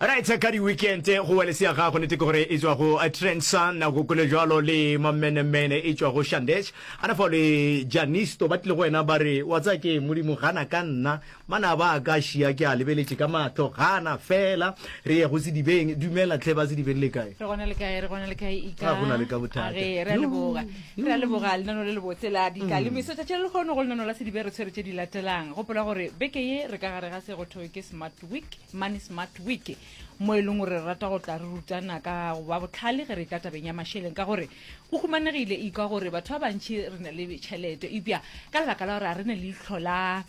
Right, ka di-weekend go wele se ya gago nete ke gore e tswa go Trendsun go kole jwalo le Mamenemene e tswa go Shandesh ana fao le Janisto ba tlile go wena ba re wa tsaya ke Modimo gana ka nna manaba a ka šia ke a lebeletše ka mahlo gana fela re ye go sedibeng dumela tlhe ba sedibeng le kae Re gona le kae re gona le kae ika Ga gona le ka bothata. A re re a leboga re a leboga lenano le lebotse la dika le meso tšatši le lekgono go lenano la sedibe re tshwere tše di latelang gopola gore beke ye re ka gare ga se go thwe ke smart week Money Smart Week, mo e leng gore re rata go tla re rutana ka go ba botlhale ge re tla tabeng ya mašeleng, ka gore go humanegile ikwa gore batho ba bantši re na le tšhelete, eupša ka lebaka la gore a re ne leihlo la,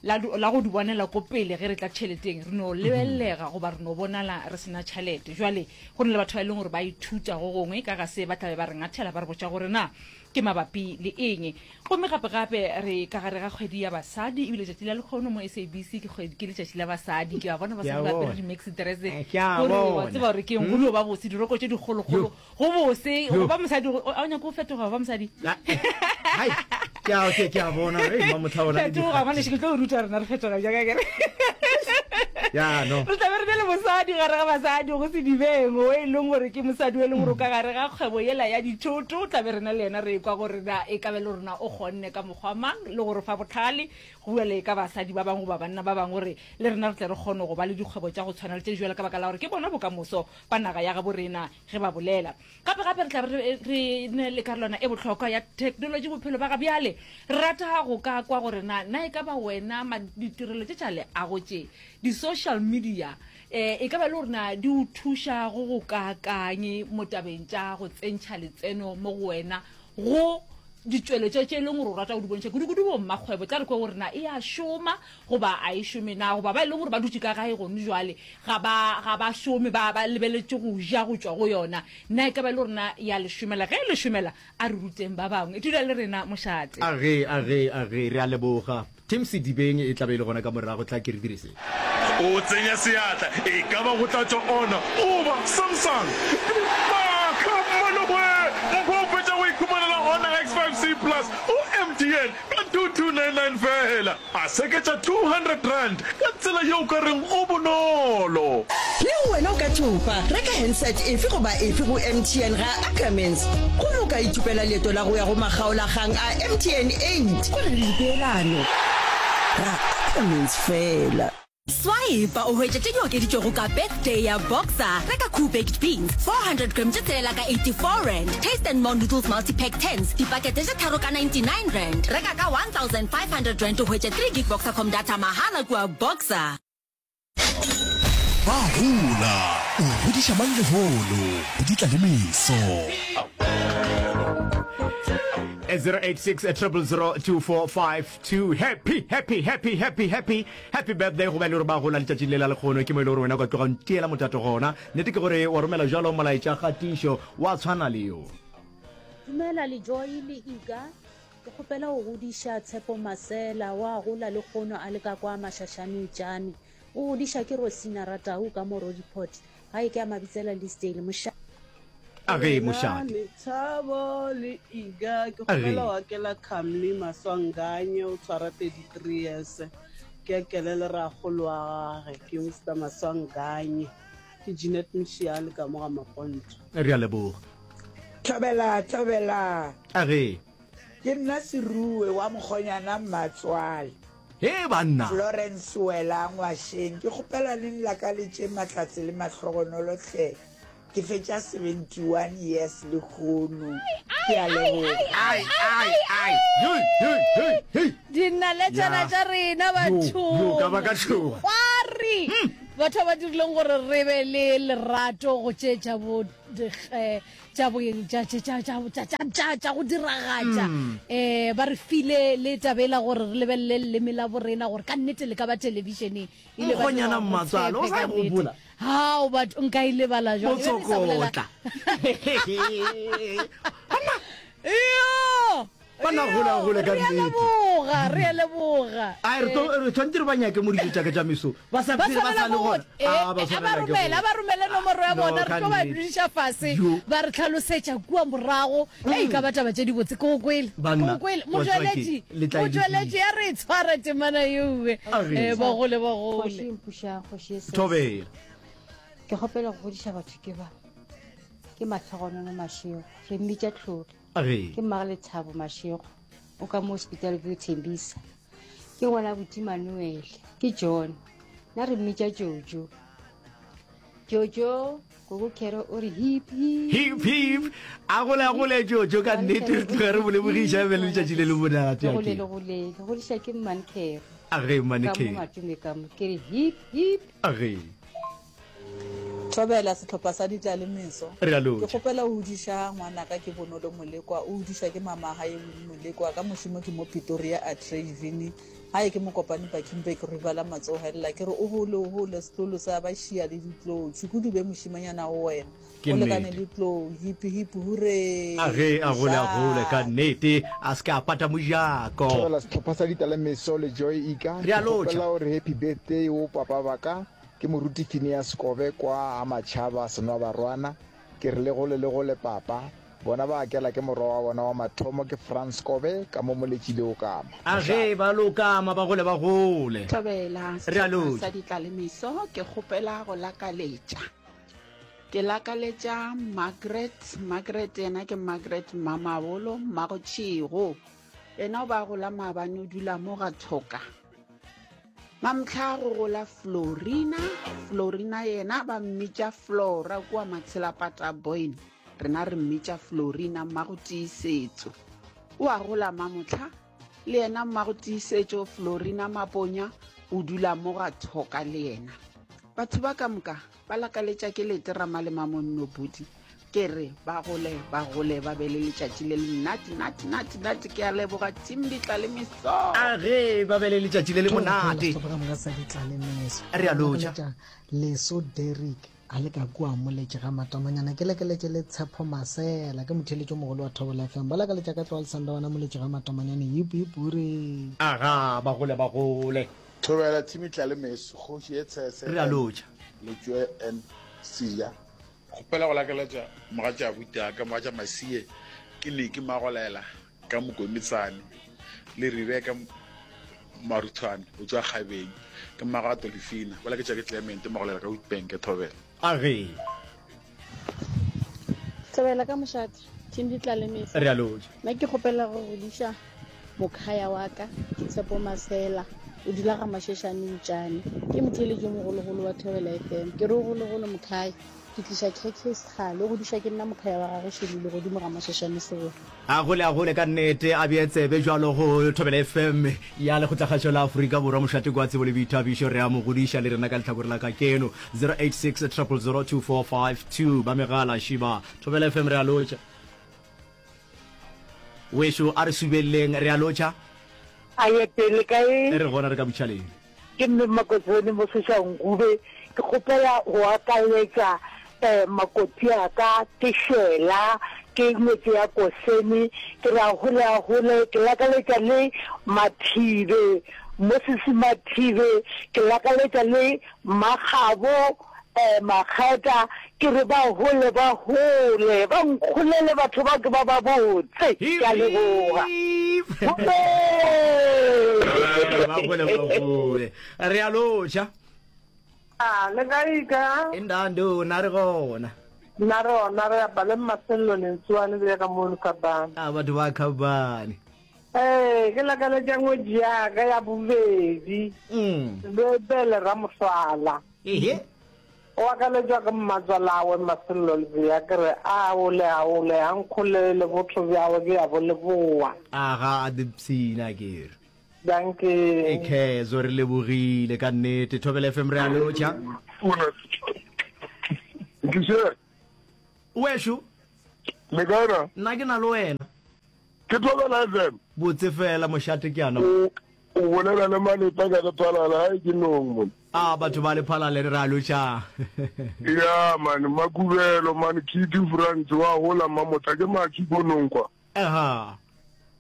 la, la go di bonela ko pele ge re tla tšheleteng, re no lebelelega goba re no bonala re sena tšhelete. Jwale go na le batho ba e leng gore ba ithuta go gongwe ka ga se, ba tla be ba re ngathela ba re botša gore na ke mabapi le eng. Gomme gape-gape re ka gare ga kgwedi ya basadi, ebile letšatši la lekgono mo SABC ke kgwedi, ke letšatši la basadi. Ke a bona basadi ba apere di-maxi dress, Ke a gore wa bona. tseba gore ke eng, go dio ba bose, diroko tše dikgolokgolo, go bose go ba mosadi. A o nyake go fetoga go ba mosadi? Hai, ke a ke ke a bona hey Mmamotlha ona le Fetoga ngwanešu, ke tlo go ruta rena re fetoga bjang akere. Ya no. Re tla be re be le mosadi gare ga basadi go Sedibeng, o e leng gore ke mosadi o e leng gore o ka gare ga kgwebo yela ya dithoto. O tla be rena le yena re ekwa gore na e ka be le gore na o kgonne ka mokgwa mang le go re fa bohlale go bua le ka basadi ba bangwe goba banna ba bangwe gore le rena re tle re kgone go ba le dikgwebo tša go tshwana le tše di bjalo ka baka la gore ke bona bokamoso ba naga ya gabo rena ge ba bolela. Gape gape re tla be re re ne le karolwana e bohlokwa ya theknolotši bophelo ba ga bjale. Re rata go ka kwa gore na na e ka ba wena ma ditirelo tše tša leago tše, di-social media, eh, e ka ba le gore na di o thuša go go kaakang mo tabeng tša go tsentšha letseno mo go wena go ditšweletšwa tše e leng gore o rata go di bontšha, kudu-kudu bommakgwebo. Tla re kwe gore na e a šoma goba a e šome na, goba ba e leng gore ba dutše ka gae gone jwale ga ba, ga ba šome, ba, ba lebeletše go ja go tšwa go yona. Na e ka ba e le gore na ya le šomela? Ge e le šomela, a re ruteng ba bangwe. Dula le rena, mošate. A ge, a ge, a ge, re a leboga. Team Sedibeng e tla be e le gona ka morago, tla ke re dire se. O tsenya seatla, e ka ba go tla tšwa Honor goba Samsung. Maka mmalowe! Mpho o fetša go ikhumanela Honor X5C Plus go MTN ka 2299 feela. A seketša R200 ka tsela ye o ka reng go bonolo. Le wena o ka thopa. Reka handset efe goba efe go MTN ga Ackermans gomme o ka ithopela leeto la go ya go makgaolakgang a MTN 8. Go na le dipeelano ga Ackermans fela. Swipa o hwetše tše di okeditšwego ka Birthday ya Boxer. Reka Koo Baked Beans 400 gram tše tshelela ka R84, Taste and More Noodles Multi-Pack Tins dipakete tše tharo ka R99. Reka ka R1500 o hwetše 3 gig Boxercom data mahala kua Boxer. Ba gola, o godiša mang lehono, go di tla le meso. 086 000 2452 happy happy happy happy happy happy birthday go ba e le gore ba gola letšatšing le la lekgono ke mo e le gore wena o ka tloga ntiela motato gona nnete ke gore wa romela jalo molaetša kgatišo wa tshwana le yo Dumela le Joy le Ika. Ke kgopela go godiša Tshepo Masela wa gola le kgono a le ka kwa Mashashane Tšane. O godiša ke Rosina Ratau ka mo Roodepoort. Gae ke a Mabitsela Leasdale. Mošate. A ge, Dumela mošate. Lethabo le Iga, ke A ge. kgopela go akela Khamli Maswanganye, o tshwara 33 years. Ke akele le rakgolo wa gage, ke Mister Maswanganye. Ke Jeanette Mshiale ka mo ga Maponto. Re a leboga. Thobela, thobela. A ge. Ke nna Seruwe wa mokgonyana Mmatswale. Hee banna! Florence Wela Ngwašeng, ke kgopela le nlakaletše mahlatse le mahlogonolo hle. Ke fetša 71 years lehono. Ke a leboga. Ai, ai, ai. Hei, hei, hei, hei. Dinaletšana Ya. tša rena Yo, bathong. yo, ka ba ka tšhoga. Dikgwari. Batho ba ba dirileng gore re be le lerato go tše tša bo eh, tša bo tša tša tša tša tša tša tša tša go diragatša eh ba re file le tabela gore re lebelele leleme la borena gore ka nnete le ka ba televisioneng ile ba Mokgonyana dira gore re Mmatswale, o tshepe sa ka e nnete. gopola? Hao batho nka e lebala jwang E be ke sa bolela- Motsokotla. Iyo! Ba na gola gole ka Re a nnete. leboga, re a leboga. Ai re tlo re tshwanetse re ba nyake mo dijo tša ka tša meso. Ba sa Ba phela ba swanela sa le go gona. eh, Ah ba eh, a ba swanela ke romele, go. a ba romele nomoro ya No, bona, re ka tlo ba nnete. dudiša fase, Yo. ba re tlhalosetša kua morago. Ei, ka ba taba tše dibotse, ke go kwele, ke Banna, go kwele. wa tseba ke, Motšweletši, le tla e motšweletši, lokisa. ya re e tshwara temana yeo, A re. eh, ba gole, ba gole. Kgoši mpuša, kgoši e sese. Thobela. Ke kgopela go godiša batho ke ba. Ke Mahlogonono Mashego. Re mmitša Tlhori. Age. Ke mmage Lethabo Mashego. O ka mo Hospital View Thembisa. Ke ngwana buti Manuel. Ke John. Nna re mmitša Jojo. Jojo, Koko Kero o re hip hip. Hip hip. A gole a gole Jojo ka nnete re tloga re mo lebogiša e be le letšatši le le monate. Le gole le gole. Le godiša ke Mmane Kero. Age Mmane Ka mo Kero. Matome ka mo. Ke re hip hip. Age. Thobela, sehlopha sa Ditlalemeso. Re a Ke lotšha. kgopela o hudiša ngwanaka ke Bonolo Molekwa, o hudišwa ke mamagae Winnie Molekwa, ka mošomo ke mo Pretoria Atteridgeville, gae ke Mokopane Bakenberg River la Matsohella. Ke re o gole o gole setlolo sa ba šia le ditlou, tšhukudu be mošimanyana go wena, Ke o lekane nnete. le tlou, hip hip huree! A ge a gole a gole ka nnete, a se ke a pata mojako. Thobela sehlopha sa Ditlalemeso le Joy Ika. Re a Ke lotšha. kgopela o re happy birthday wo papa ba ka. Ke moruti Phineas Kobe kwa ga Matšhaba Senwabarwana. Ke re le gole le gole papa. Bona ba akela ke morwa wa bona wa mathomo ke Frans Kobe ka mo Moletši le Okama. A ge Mošate. ba lokama ba gole ba gole. Thobela, Re a sehlopha lotšha. sa Ditlalemeso, ke kgopela go lakaletša. Ke lakaletša Margaret, Margaret yena ke Margaret Mmamabolo, Mmagotšhego. Yena o ba gola maabane o dula mo ga Thoka. Mamhla go gola Florina, Florina yena ba mmitša Flora kua Matshelapata Boyne. Rena re mmitša Florina mmago Tiisetso. O a gola mamohla, le yena mmago Tiisetšo Florina Maponya o dula mo ga Thoka le yena. Batho ba ka moka ba lakaletša ke lete Ramalema Monno Budi. Ke re ba gole ba gole ba be le letšatši le le nate nate nate nate ke a leboga team ditla le meso. A ge ba be le letšatši le le monate. Sehlopha ka moka sa ditla le meso. Re a lotša. Leso Derrick a le ka kua moletše ga Matomanyana ke lekeletše le Tshepo Masela ke motheeletši o mogolo wa Thobela FM ba lakaletša ka tloga Lesandawana moletše ga Matomanyane hip hip huree. Aga ba gole ba gole. Thobela team tla le meso kgoši ye tshese Re a and lotša. Letšoe and Siya. Kgopela go lakeletša mogatša abuti aka mogatša Masie ke Niki Magolela ka Mokomitsane le Rebecca Maruthwane o tšwa Kgabeng ke mmago Atolifina ba laketša ke Clement Magolela ka Witbank Thobela. A ge. Thobela ka mošate, team Ditlalemesa. Re a lotša. Nna ke kgopela go godiša mokhaya wa ka, ke Tshepo Masela, o dula ga Masheshane Ntšane. Ke motheeletši yo mogologolo wa Thobela FM. Ke re o golegole mokhaya. Ke tliša KK Sekgale, o godišwa ke nna mokhaya wa gagwe Šelile godimo ga Masheshane Segolo. A gole a gole ka nnete, a bee tsebe bjalo go Thobela FM ya Lekgotlakgašo la Afrika Borwa, mošate kwa tsebo le boithabišo. Re a mo godiša le rena ka lehlakore la kakeno. 086 000 2452 ba megala šiba. Thobela FM re a lotša. Wešo a re subelleng re a lotšha. A ye pele kae? Re gona re ka butšhaleng. Ke mme Makotsone mo Soshanguve. Ke kgopela go akaletša um makoti a ka ke Shela, ke ngwetši ya Kosene. Ke re a hole a hole. Ke lakaletša le Mathibe, Moses Mathibe. Ke lakaletša le Mmakgabo um Makgeta. Ke re ba hole ba hole, ba nkgolele batho ba ke ba ba botse. Ke a leboga. Ba gole ba gole. Re a lotšha. A le kae ka? Indando na re gona. Nna re gona re apa le Mmasello Lentsoane le ka mono Kabane. A batho ba Kabane. Ee, ke lakaletša ngwetši ya ka ya bobedi. Mm. Bebele Ramohlwala. Ehe. O akaletšwa ke mmatswalawe Masello Lebea ke re a ole a ole a nkgolele botho bjawe ke ya bo leboa. A ga a dipshina ke re. Dankie. Ekhezo re lebogile ka nnete. Thobela FM re a lotšha. Ntliše. Wešo. Le kae na? Nna ke na le wena. Ke Thobela FM. Botse fela mošate ke ana. O o bolela le Malepa ka Lephalale, hae ke nong mone. A batho ba Lephalale re a lotšha. Ya man, Makubelo man, Kitty Frantz wa gola Mamotla ke Maki ko nong kwa. Aha.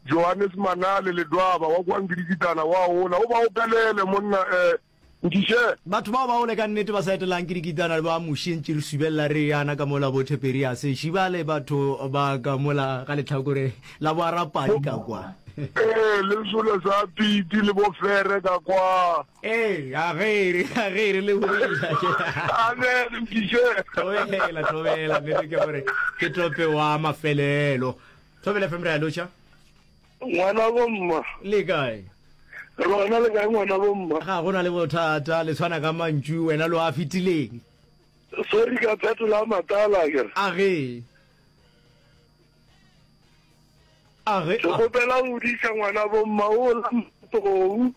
Johannes Manale Ledwaba wa kwa Nkidikitana wa gola, o ba opelele monna eh Nkiše. Batho bao ba ole ka nnete ba sa etelang ke dikitana ba muši ntše re subelela re yana ka mola bo Theperiase šibale batho ba ka mola ga lehlakore la bo Arapadi ka kwa. Ee, le sole sa piti le bofere ka kwa. Ee, a ge a ge re lebogile. Amen, mkiše. Thobela, thobela, nnete ke gore ke tope wa mafelelo. Thobela FM re a lotšha. Ngwana bomma. Le kae? Rona le kae ngwana bomma? Ga go na le bothata, le tshwana ka mantšu wena lo a fetileng. Sorry ka phetola matala ke. A ge. A ge. Ke kgopela go diša ngwana bomma o la motogou.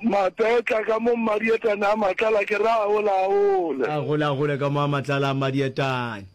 Mapetla ka mo mmadietane a matlala ke ra ola ole. A gola gole ka mo a matlala a mmadietane.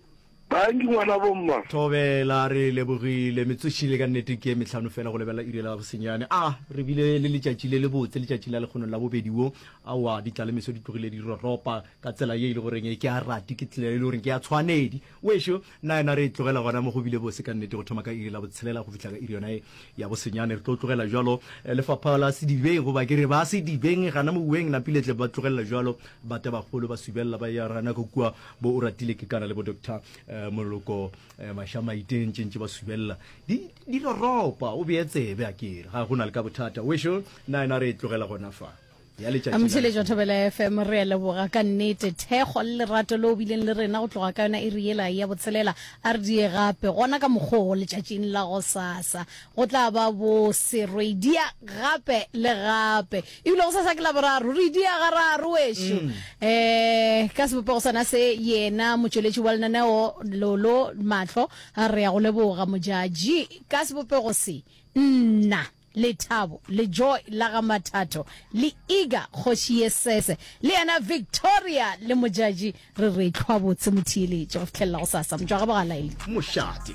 Bangi ngwana bomma. Thobela re lebogile metsošile ka nnete ke mehlano fela go lebelela iri la bosenyane. A re bile le letšatši le lebotse letšatši la lekgono la bobedi wo. Aowa ditlalemeso di tlogile di roropa ka tsela ye e le goreng ke a rati ke tsela e le goreng ke ya tshwanedi. Wešo nna yena re e tlogela gona mo go bile bose ka nnete go thoma ka iri la botshelela go fihla ka iri yona e ya bosenyane. Re tlo tlogela jwalo eh, lefapha la Sedibeng goba ke re ba Sedibeng gana mouweng napiletle ba tlogelela jwalo batabagolo ba subelela ba ya rana ka kua bo o ratile ke kana le bo doctor eh, moloko eh, mašamaite ntše ntše ba subelela di di roropa o bee tsebe a kere ga go na le ka bothata wešo nna ena re e tlogela gona fa ya letšatši la Motheeletši wa Thobela FM re a leboga ka nnete thekgo le lerato le o bileng le rena go tloga ka yona iri yela ya botshelela a re die gape gona ka mokgoo letšatšing la gosasa go tla ba bo serwedia gape le gape Ebile gosasa ke Laboraro, re dia gararo wešo. Um ka sebopego sona se, yena motšweletši wa lenaneo Lolo Mahlo, re ya go leboga Modjadji. Ka sebopego se, nna, Lethabo, le Joy la ga Mathatho, le Iga kgoši ye sese, le yena Victoria le Modjadji, re re hlwa botse motheeletši go fihlelela gosasa. Motšwagabogalaeli. Mošate.